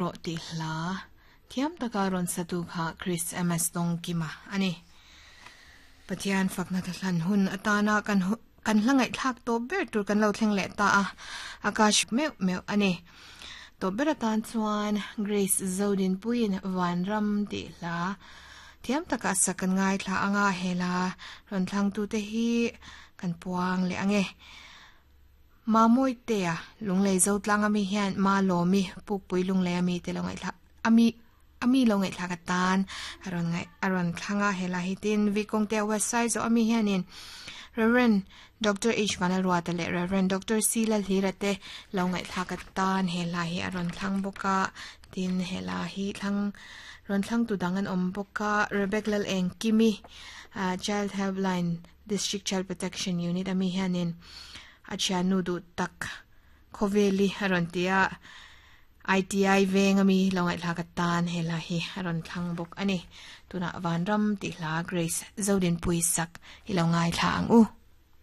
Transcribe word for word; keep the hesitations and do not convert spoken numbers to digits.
Rawh tih hla thiam taka rawn satu kha Chris M S Dawngkima a ni. Pathian fakna hlan hun atana kan kan hla ngaihthlak tawp ber tur kan lo thleng leh ta a, Akash meuh meuh a ni. Tawp ber atan chuan Grace Zodinpuiin Vanram tih hla thiam taka sak kan ngaithla anga hela rawn thlangtute hi kan puang leh ange. Ma moi te a lunglei zo tlang ami hian ma lomi pukpui lunglei ami te lo ngaithla ami ami lo ngaithla ka tan aron ngai aron thlanga hela hitin vikong te website zo ami hianin Reverend Doctor H Vanalruata le Reverend Doctor C Lalhira te lo ngaithla ka tan hela hi aron thlang boka tin hela hi thlang ron thlang tu dangan om boka Rebecca Lal Eng Kimi uh, Child Helpline District Child Protection Unit ami hianin achia nu du tak khoveli aron tia I T I veng ami lo ngaithla ka tan hela hi aron thlang bok ani tuna vanram ti hla Grace Zodin Puisak hi lo ngaithla ang u.